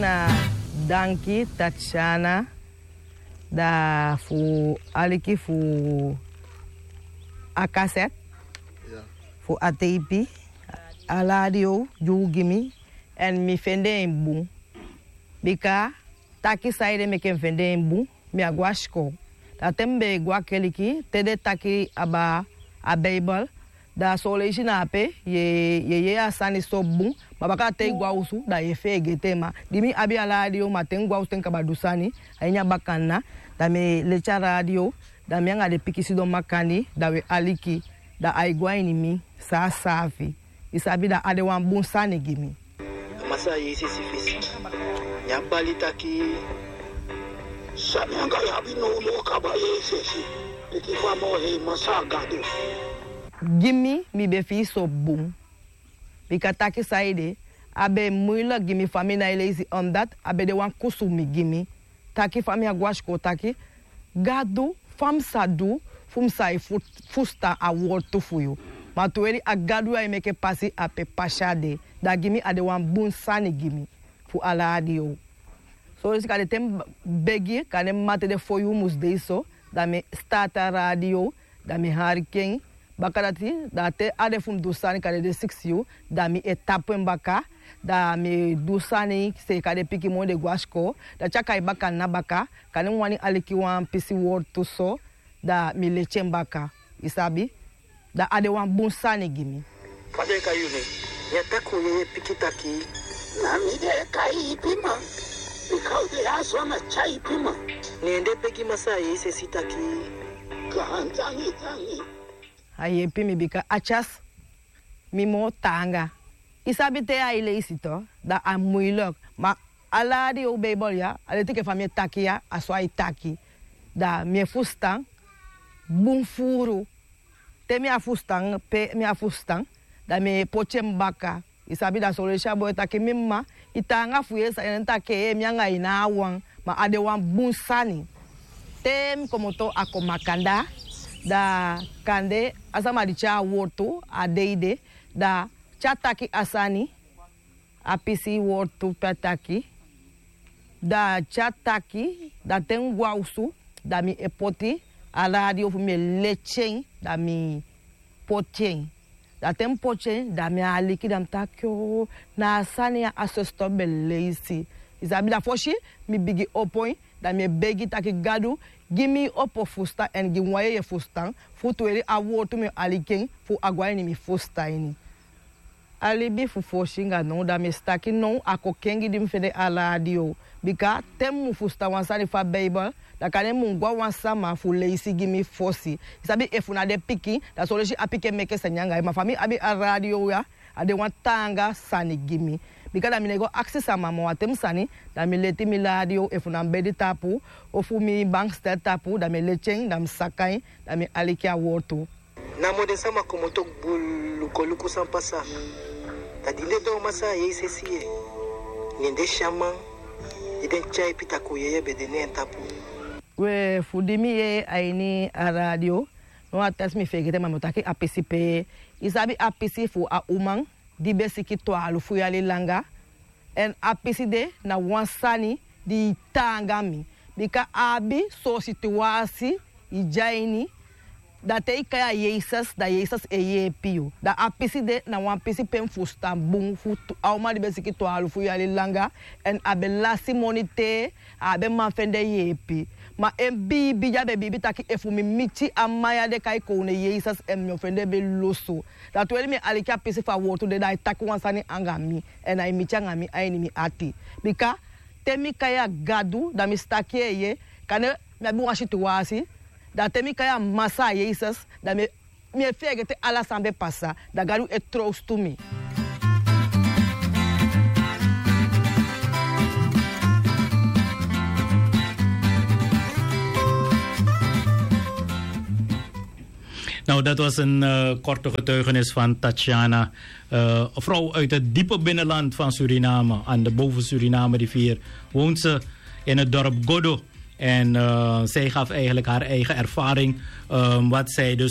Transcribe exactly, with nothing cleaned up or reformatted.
Na danki Tatiana, da fu aliki fu a kaset, fu a teipi, a radio di un gi mi, èn mi fende en bun. Bika taki saide meke mi fende en bun, mi á go a sikoo. Da te mi be e go a keliki, te den taki abaa a Beibel, da son leisi na ape yu e yee a sani so bun, ma baka te yu go a osu da yu e feegete en. Ma di mi abi a radio, ma te mi go a osu te mi kaba du sani a ini a bakana, da mi e leti a radio, da mi anga den pikin sidon makandii, da wi e aliki, da ai go a ini mi saafi saafi. I sabi, da a de wan bun sani gi mi. Masaa Jeses fesi, ne a bali taki: San mi anga yu abi now, yu o kaba Jeses, pikin fu a Moo Hei Masaa Gadu. Gi mi, mi be fii so bun. Bika taki saide, a be muilek gi mi fa mi nái leisi, omdat a be de wan kusumi gi mi. Taki fa mi á go a sikoo, taki: Gadu, fa mi sa du fu mi sa e fu- fusutan a wortu fu yu? Ma tu weri a Gadu ya e meke pasi ape pasi a de. Da gi mi a de wan bun sani gi mi fu a radio. Son leisi kande te mi begi, kande mi mama, te den fo yuu mus de so, da mi e start a radio, da mi e aliki en. Baka dati, da te a de fu mi du sani, kande den sikisi yuu, da mi e tapu en baka, da mi e du sani seeka den pikin moni den go a sikoo, da te a kai bakana baka, kande mi wani aliki wan pisi wortu so, da mi leti en baka, i sabi, da a de wan bun sani gi mi. Fa den e kai yu nen? Mi e taki un yeye piki taki. Na mi den e kai ipiman, bika un de ya so na tyai ipiman. Ne den begi Masaa Jeses taki: Gaantangi, tangi. A yepi mi bika a tyasi mi moo taanga. I sabi te yu e leisi tu, da a muilek. Ma a radio, Beibel ya, a leti enke fa mi e taki ya, a so ai taki. Da mi e fusutan bun furu. Te mi á fusutan, pe mi á fusutan, da mi e poti en baka. I sabi, da son leisi a boi e taki: Mi mama, i taanga fu yee san den taki, ee, mi anga yu na wan, ma a de wan bun sani. Te mi komoto a kon makandaa, da kande a sama di tyai a wortu a dei de, da te a taki a sani, a pisi wortu pe a taki, da te a taki, da te mi go a osu, da mi e poti a radio fu mi e leti en, da mi poti en. Da te mi poti en, da mi aliki, da mi taki: Oo, na a sani ya a soso be leisi. I sabi, da fosi mi bigin opo en, da mi e begi taki: Gadu, gi mi opo fusutan èn gi mi wan yeye fusutan, fu tu weri a wortu mi o aliki en, fu a go a ini mi fusutan ini. A libi fu fosi anga now, da mi e si taki now a kon kengi di mi fende a radio. Bika te mi mu fusutan wan sani fu a Beibel, da kande mi mu go a wan sama fu leisi gi mi fosi. I sabi, efu na den pikin, da son leisi a pikin e meke sani anga yu. Ma fa mi abi a radio ya, a de wan taanga sani gi mi. Bika da mi nái go akisi sama moo, a ten sani, da mi leti mi radio, efu na mi bedi tapu, ofu mi bankstel tapu, da mi e leti en, da mi saka en, da mi aliki a wortu. Namo den sama komoto bulu go luku san pasa. Da di den doo Masaa Jeses yee, ne den si a man di den tyai pita kon yeye be de na en tapu. We, fu di mi yee a ini a radio, now a tasi mi feegete, ma mi o taki a pisi pe. I sabi, a pisi fu a uman di be siki twalufu yali langa. Èn a pisi de na wan sani di taanga mi. Bika a abi son situwasi i de a ini, da te i kai a Yesus, da Yesus e yeepi yu. Da a pisi de na wan pisi pe mi fusutan bun fu tu, a uman di be siki twalufu yali langa, èn a be lasi moni te a á be man fende yeepi. Ma en biibi di a be biibi taki efu mi miti a man ya di e kai kownu Yesus, èn mi o fende be lusu. Da tu weri mi e aliki a pisi fu a wortu de, da ai taki wan sani anga mi, èn ai miti anga mi a ini mi ati. Bika te mi kai a Gadu, da mi si taki, eeye, kande mi abi wan situwasi, da te mi kai a Masaa Yesus, da mi e, mi e feegete ala san be pasa, da Gadu e trowstu mi. Nou, dat was een eh, korte getuigenis van Tatiana. Eh, een vrouw uit het diepe binnenland van Suriname, aan de boven Suriname rivier, woont ze in het dorp Godo. En eh, zij gaf eigenlijk haar eigen ervaring, eh, wat zij dus